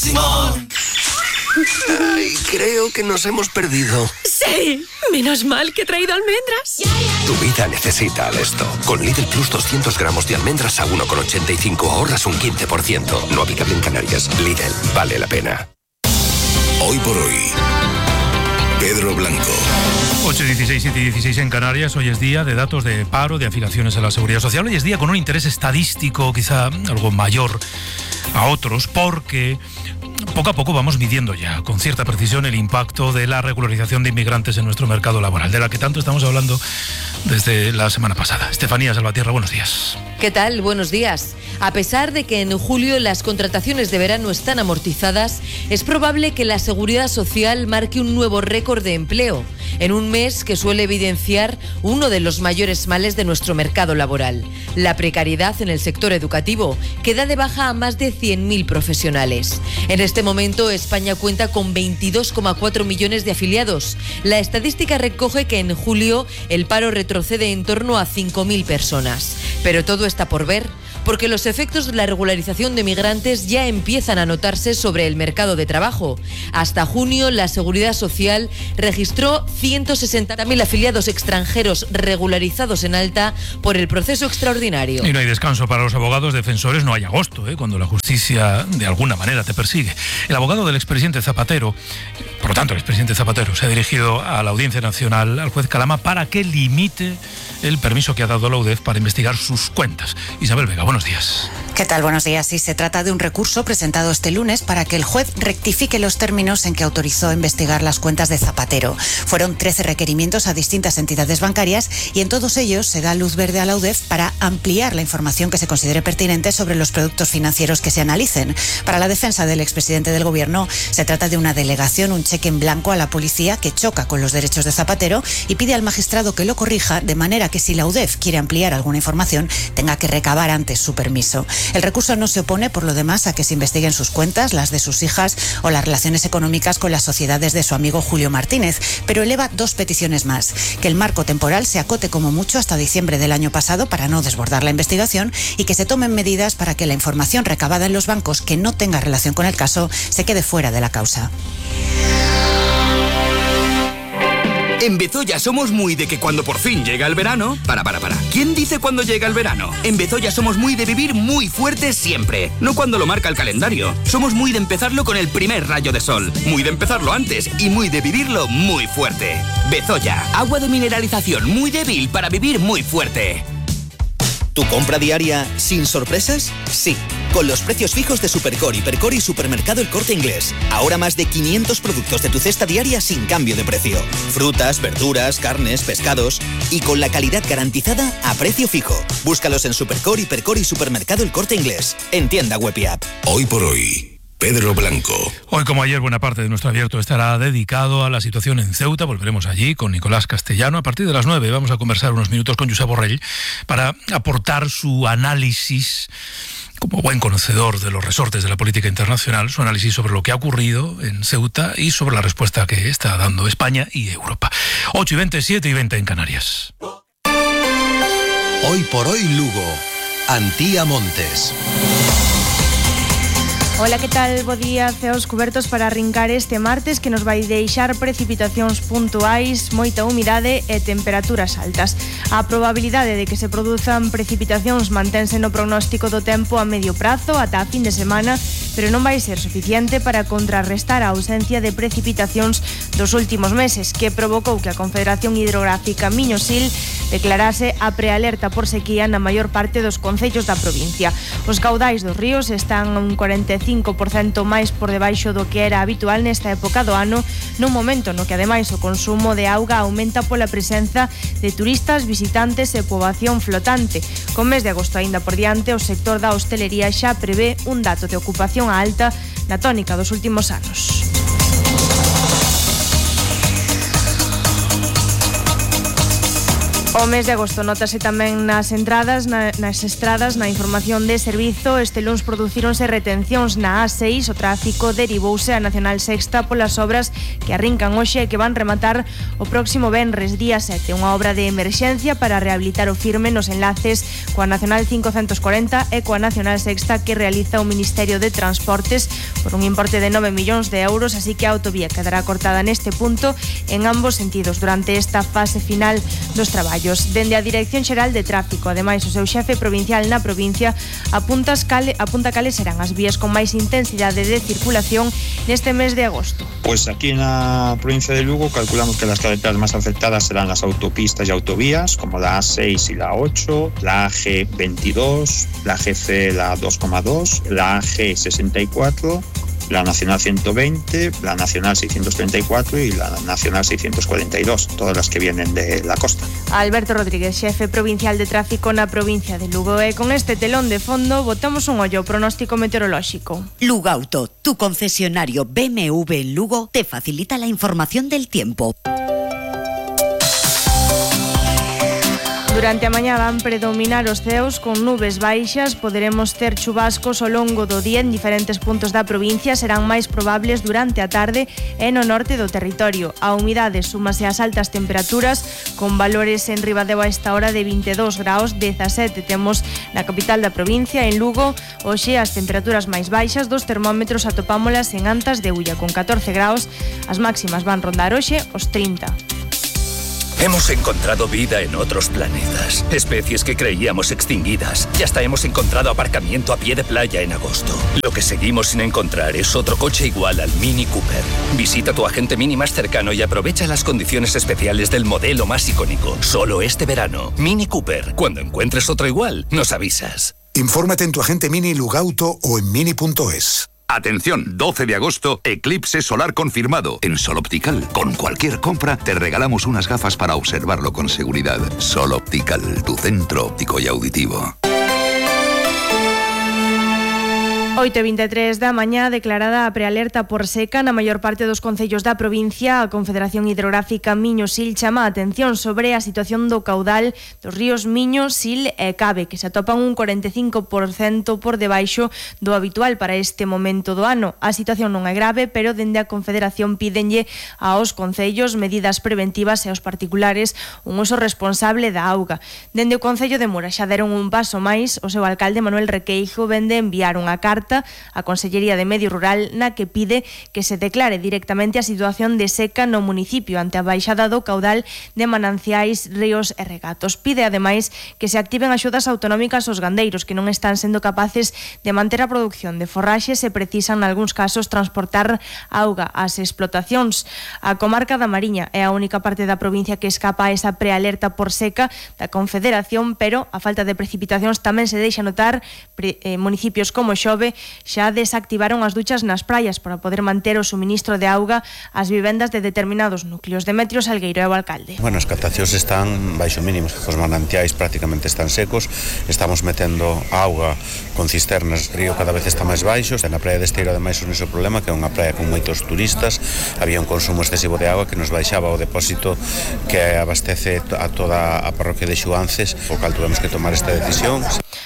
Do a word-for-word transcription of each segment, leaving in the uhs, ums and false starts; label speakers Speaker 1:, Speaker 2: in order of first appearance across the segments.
Speaker 1: Simón. Ay, creo que nos hemos perdido.
Speaker 2: Sí, menos mal que he traído almendras.
Speaker 1: Tu vida necesita Alesto. Con Lidl Plus doscientos gramos de almendras a uno con ochenta y cinco ahorras un quince por ciento. No aplicable en Canarias. Lidl, vale la pena.
Speaker 3: Hoy por hoy, Pedro Blanco.
Speaker 4: ocho dieciséis, siete dieciséis en Canarias. Hoy es día de datos de paro, de afiliaciones a la Seguridad Social. Hoy es día con un interés estadístico quizá algo mayor a otros, porque poco a poco vamos midiendo ya con cierta precisión el impacto de la regularización de inmigrantes en nuestro mercado laboral, de la que tanto estamos hablando desde la semana pasada. Estefanía Salvatierra, buenos días.
Speaker 5: ¿Qué tal? Buenos días. A pesar de que en julio las contrataciones de verano están amortizadas, es probable que la Seguridad Social marque un nuevo récord de empleo, en un mes que suele evidenciar uno de los mayores males de nuestro mercado laboral, la precariedad en el sector educativo, que da de baja a más de cien mil profesionales. En este momento, España cuenta con veintidós coma cuatro millones de afiliados. La estadística recoge que en julio el paro retrocede en torno a cinco mil personas. Pero todo está por ver, porque los efectos de la regularización de migrantes ya empiezan a notarse sobre el mercado de trabajo. Hasta junio, la Seguridad Social registró ciento sesenta mil afiliados extranjeros regularizados en alta por el proceso extraordinario.
Speaker 4: Y no hay descanso para los abogados defensores, no hay agosto, ¿eh? cuando la justicia de alguna manera te persigue. El abogado del expresidente Zapatero, por lo tanto el expresidente Zapatero, se ha dirigido a la Audiencia Nacional, al juez Calama, para que limite el permiso que ha dado la U D E F para investigar sus cuentas. Isabel Vega, buenos días.
Speaker 6: ¿Qué tal? Buenos días. Sí, se trata de un recurso presentado este lunes para que el juez rectifique los términos en que autorizó investigar las cuentas de Zapatero. Fueron trece requerimientos a distintas entidades bancarias y en todos ellos se da luz verde a la U D E F para ampliar la información que se considere pertinente sobre los productos financieros que se analicen. Para la defensa del expresidente del Gobierno, se trata de una delegación, un cheque en blanco a la policía que choca con los derechos de Zapatero y pide al magistrado que lo corrija, de manera que si la U D E F quiere ampliar alguna información, tenga que recabar antes su permiso. El recurso no se opone, por lo demás, a que se investiguen sus cuentas, las de sus hijas o las relaciones económicas con las sociedades de su amigo Julio Martínez, pero eleva dos peticiones más: que el marco temporal se acote como mucho hasta diciembre del año pasado para no desbordar la investigación y que se tomen medidas para que la información recabada en los bancos que no tenga relación con el caso se quede fuera de la causa.
Speaker 7: En Bezoya somos muy de que cuando por fin llega el verano... Para, para, para. ¿Quién dice cuando llega el verano? En Bezoya somos muy de vivir muy fuerte siempre. No cuando lo marca el calendario. Somos muy de empezarlo con el primer rayo de sol. Muy de empezarlo antes y muy de vivirlo muy fuerte. Bezoya, agua de mineralización muy débil para vivir muy fuerte.
Speaker 8: ¿Tu compra diaria sin sorpresas? Sí, con los precios fijos de Supercore, Hipercore y Supermercado El Corte Inglés. Ahora más de quinientos productos de tu cesta diaria sin cambio de precio. Frutas, verduras, carnes, pescados y con la calidad garantizada a precio fijo. Búscalos en Supercore, Hipercore y Supermercado El Corte Inglés. En tienda web y app.
Speaker 3: Hoy por hoy, Pedro Blanco.
Speaker 4: Hoy, como ayer, buena parte de nuestro abierto estará dedicado a la situación en Ceuta. Volveremos allí con Nicolás Castellano. A partir de las nueve vamos a conversar unos minutos con Josep Borrell para aportar su análisis, como buen conocedor de los resortes de la política internacional, su análisis sobre lo que ha ocurrido en Ceuta y sobre la respuesta que está dando España y Europa. ocho y veinte, siete y veinte en Canarias.
Speaker 9: Hoy por hoy Lugo. Antía Montes.
Speaker 10: Ola, que tal? Bo día, ceos cubertos para arrincar este martes, que nos vai deixar precipitacións puntuais, moita humidade e temperaturas altas. A probabilidade de que se produzan precipitacións mantense no pronóstico do tempo a medio prazo ata a fin de semana, pero non vai ser suficiente para contrarrestar a ausencia de precipitacións dos últimos meses, que provocou que a Confederación Hidrográfica Miño-Sil declarase a prealerta por sequía na maior parte dos concellos da provincia. Os caudais dos ríos están un cuarenta e cinco por cento máis por debaixo do que era habitual nesta época do ano, nun momento no que ademais o consumo de auga aumenta pola presenza de turistas, visitantes e poboación flotante. Con mes de agosto aínda por diante, o sector da hostelería xa prevé un dato de ocupación alta na tónica dos últimos anos. O mes de agosto notase tamén nas entradas, na, nas estradas, na información de servizo. Este luns producíronse retencións na A seis, o tráfico derivouse a Nacional Sexta polas obras que arrincan hoxe e que van rematar o próximo venres, día sete, unha obra de emerxencia para rehabilitar o firme nos enlaces coa Nacional quinhentos cuarenta e coa Nacional Sexta que realiza o Ministerio de Transportes por un importe de nove millóns de euros, así que a autovía quedará cortada neste punto en ambos sentidos durante esta fase final dos traballos. Dende a Dirección Xeral de Tráfico, ademais o seu xefe provincial na provincia apunta cale, apunta cales serán as vías con máis intensidade de circulación neste mes de agosto.
Speaker 11: Pues aquí na provincia de Lugo calculamos que las carreteras más afectadas serán las autopistas y autovías como la A seis y la ocho, la A G veintidós, la G C, la dos coma dos, la A G sesenta y cuatro, la Nacional ciento veinte, la Nacional seiscientos treinta y cuatro y la Nacional seiscientos cuarenta y dos, todas las que vienen de la costa.
Speaker 10: Alberto Rodríguez, xefe provincial de tráfico na provincia de Lugo. E con este telón de fondo botamos un ollo ao pronóstico meteorolóxico.
Speaker 12: Lugauto, tu concesionario B M W en Lugo, te facilita la información del tiempo.
Speaker 10: Durante a mañá van predominar os ceos con nubes baixas, poderemos ter chubascos ao longo do día en diferentes puntos da provincia, serán máis probables durante a tarde e no norte do territorio. A humidade súmase ás altas temperaturas, con valores en Ribadeo a esta hora de vinte e dous graus, dezasete temos na capital da provincia, en Lugo. Hoxe as temperaturas máis baixas dos termómetros atopámolas en Antas de Ulla con catorce graus, as máximas van rondar hoxe os trinta.
Speaker 1: Hemos encontrado vida en otros planetas, especies que creíamos extinguidas, y hasta hemos encontrado aparcamiento a pie de playa en agosto. Lo que seguimos sin encontrar es otro coche igual al Mini Cooper. Visita tu agente Mini más cercano y aprovecha las condiciones especiales del modelo más icónico. Solo este verano. Mini Cooper. Cuando encuentres otro igual, nos avisas.
Speaker 13: Infórmate en tu agente Mini Lugauto o en mini punto es.
Speaker 3: Atención, doce de agosto, eclipse solar confirmado. En Sol Optical, con cualquier compra, te regalamos unas gafas para observarlo con seguridad. Sol Optical, tu centro óptico y auditivo.
Speaker 10: oito e vinte e tres da mañá, declarada a prealerta por seca na maior parte dos concellos da provincia. A Confederación Hidrográfica Miño-Sil chama a atención sobre a situación do caudal dos ríos Miño, Sil e Cabe, que se atopan un cuarenta e cinco por cento por debaixo do habitual para este momento do ano. A situación non é grave, pero dende a Confederación pídenlle aos concellos medidas preventivas e aos particulares un uso responsable da auga. Dende o Concello de Mura xa deron un paso máis. O seu alcalde Manuel Requeijo vende enviar unha carta a Consellería de Medio Rural na que pide que se declare directamente a situación de seca no municipio ante a baixada do caudal de mananciais, ríos e regatos. Pide ademais que se activen axudas autonómicas aos gandeiros que non están sendo capaces de manter a produción de forraxe se precisan nalgúns casos transportar auga ás explotacións. A comarca da Mariña é a única parte da provincia que escapa a esa prealerta por seca da Confederación, pero a falta de precipitacións tamén se deixa notar. Pre, eh, municipios como Xove xa desactivaron as duchas nas praias para poder manter o suministro de auga ás vivendas de determinados núcleos. Demetrio Salgueiro é o alcalde.
Speaker 14: Bueno, as captacións están baixo mínimos, os manantiais prácticamente están secos, estamos metendo auga con cisternas, o río cada vez está máis baixo, na praia de Esteiro ademais un iso problema, que é unha praia con moitos turistas, había un consumo excesivo de auga que nos baixaba o depósito que abastece a toda a parroquia de Xuances, o cal tuvemos que tomar esta decisión.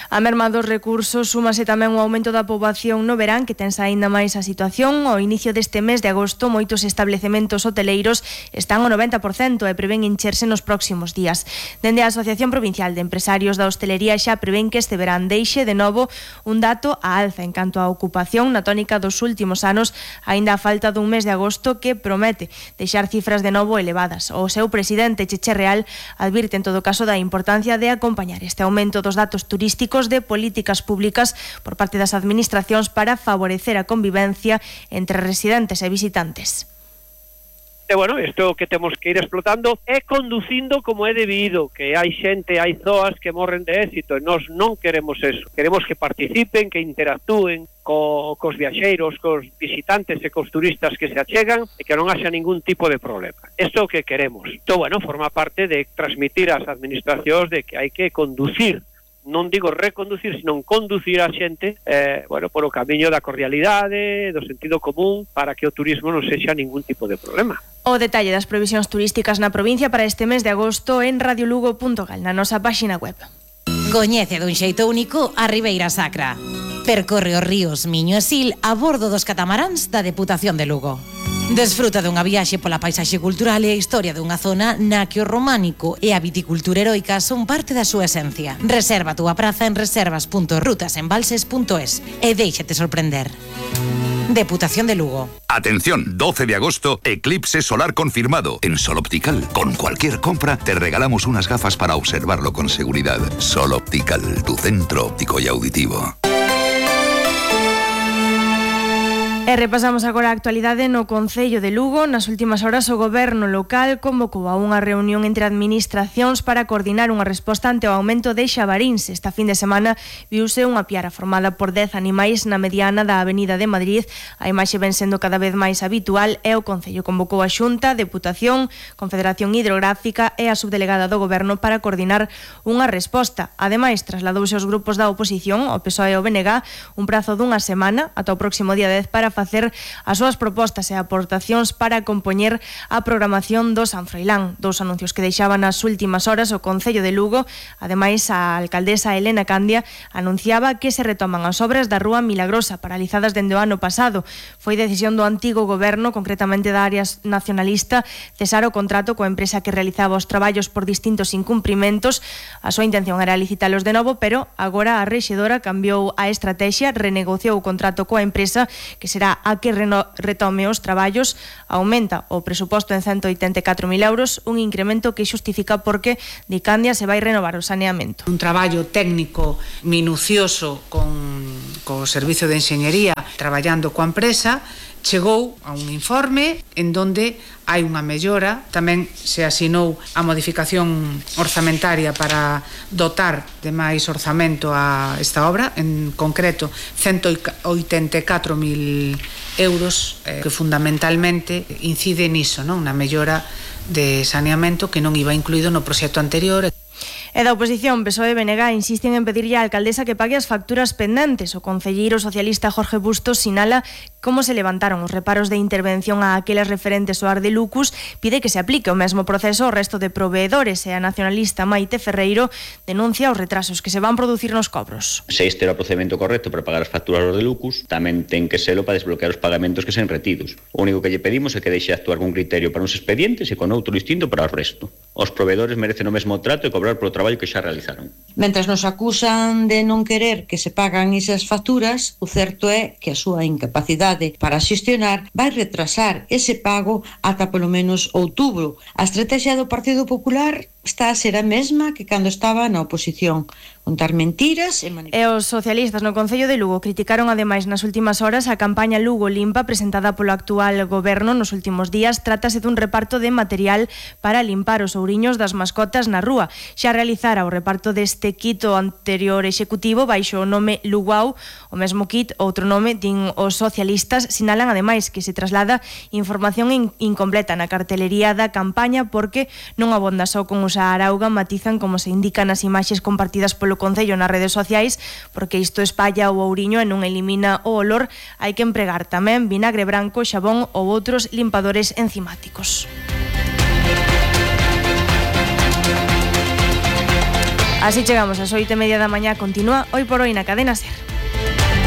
Speaker 10: A merma dos recursos súmase tamén o aumento da poboación no verán, que tensa aínda máis a situación. Ao inicio deste mes de agosto, moitos establecementos hoteleiros están ao noventa por cento e prevén encherse nos próximos días. Dende a Asociación Provincial de Empresarios da Hostelería xa prevén que este verán deixe de novo un dato a alza en canto á ocupación na tónica dos últimos anos, aínda a falta dun mes de agosto que promete deixar cifras de novo elevadas. O seu presidente, Cheche Real, advirte en todo caso da importancia de acompañar este aumento dos datos turísticos de políticas públicas por parte das administracións para favorecer a convivencia entre residentes e visitantes.
Speaker 15: E, bueno, isto que temos que ir explotando é conducindo como é debido, que hai xente, hai zoas que morren de éxito, e nós non queremos eso. Queremos que participen, que interactúen co, cos viaxeiros, cos visitantes e cos turistas que se achegan e que non haxa ningún tipo de problema. Isto é o que queremos. Isto, bueno, forma parte de transmitir ás administracións de que hai que conducir, non digo reconducir, sino conducir a xente eh, bueno, por o camiño da cordialidade, do sentido común, para que o turismo non sexa ningún tipo de problema.
Speaker 10: O detalle das previsións turísticas na provincia para este mes de agosto en radiolugo punto gal, na nosa páxina web.
Speaker 16: Coñece dun xeito único a Ribeira Sacra. Percorre os ríos Miño e Sil a bordo dos catamaráns da Deputación de Lugo. Desfruta dunha viaxe pola paisaxe cultural e a historia dunha zona na que o románico e a viticultura heroica son parte da súa esencia. Reserva a túa praza en reservas punto rutasembalses punto es e déixate sorprender. Deputación de Lugo.
Speaker 3: Atención, doce de agosto, eclipse solar confirmado. En Sol Optical, con cualquier compra, te regalamos unas gafas para observarlo con seguridad. Sol Optical, tu centro óptico y auditivo.
Speaker 10: E repasamos agora a actualidade no Concello de Lugo. Nas últimas horas o goberno local convocou a unha reunión entre administracións para coordinar unha resposta ante o aumento de xabaríns. Esta fin de semana viuse unha piara formada por dez animais na mediana da Avenida de Madrid. A imaxe ven sendo cada vez máis habitual e o Concello convocou a Xunta, Deputación, Confederación Hidrográfica e a subdelegada do goberno para coordinar unha resposta. Ademais, trasladouse aos grupos da oposición, o P S O E e o B N G, un prazo dunha semana ata o próximo día dez para facer as súas propostas e aportacións para compoñer a programación do San Froilán. Dous anuncios que deixaban nas últimas horas o Concello de Lugo. Ademais, a alcaldesa Elena Candia anunciaba que se retoman as obras da Rúa Milagrosa, paralizadas dende o ano pasado. Foi decisión do antigo goberno, concretamente da área nacionalista, cesar o contrato coa empresa que realizaba os traballos por distintos incumprimentos. A súa intención era licitalos de novo, pero agora a rexedora cambiou a estrategia, renegociou o contrato coa empresa, que será a que retome os traballos. Aumenta o presuposto en ciento oitenta e catro mil euros, un incremento que xustifica porque de Candia se vai renovar o saneamento.
Speaker 17: Un traballo técnico minucioso con co Servicio de Enxeñería, traballando coa empresa, chegou a un informe en donde hai unha mellora. Tamén se asinou a modificación orzamentaria para dotar de máis orzamento a esta obra, en concreto ciento oitenta e catro mil euros, eh, que fundamentalmente incide niso, non? Na mellora de saneamento que non iba incluído no proxecto anterior.
Speaker 10: E da oposición, P S O E e B N G insisten en pedirlle á alcaldesa que pague as facturas pendentes. O concelleiro socialista Jorge Bustos sinala como se levantaron os reparos de intervención a aquelas referentes ao Ar de Lucus, pide que se aplique o mesmo proceso ao resto de proveedores e a nacionalista Maite Ferreiro denuncia os retrasos que se van producir nos cobros.
Speaker 18: Se este era o procedimento correcto para pagar as facturas aos de Lucus, tamén ten que selo para desbloquear os pagamentos que sen retidos. O único que lle pedimos é que deixe actuar con criterio para uns expedientes e con outro distinto para o resto. Os proveedores merecen o mesmo trato e cobrar polo traballo que xa realizaron.
Speaker 19: Mentres nos acusan de non querer que se pagan esas facturas, o certo é que a súa incapacidade para xestionar vai retrasar ese pago ata polo menos outubro. A estrategia do Partido Popular está a ser a mesma que cando estaba na oposición, contar mentiras e manipular.
Speaker 10: E os socialistas no Concello de Lugo criticaron ademais nas últimas horas a campaña Lugo Limpa presentada polo actual goberno nos últimos días. Trátase dun reparto de material para limpar os ouriños das mascotas na rúa. Xa realizara o reparto deste kit o anterior executivo baixo o nome Lugau. O mesmo kit, outro nome, din os socialistas, sinalan ademais que se traslada información in- incompleta na cartelería da campaña porque non abonda só con usar auga, matizan como se indica nas imaxes compartidas polo Concello nas redes sociais, porque isto espalla o ouriño e non elimina o olor. Hai que empregar tamén vinagre branco, xabón ou outros limpadores enzimáticos. Así chegamos ás oito e media da mañá. Continúa Hoy por Hoy na Cadena SER.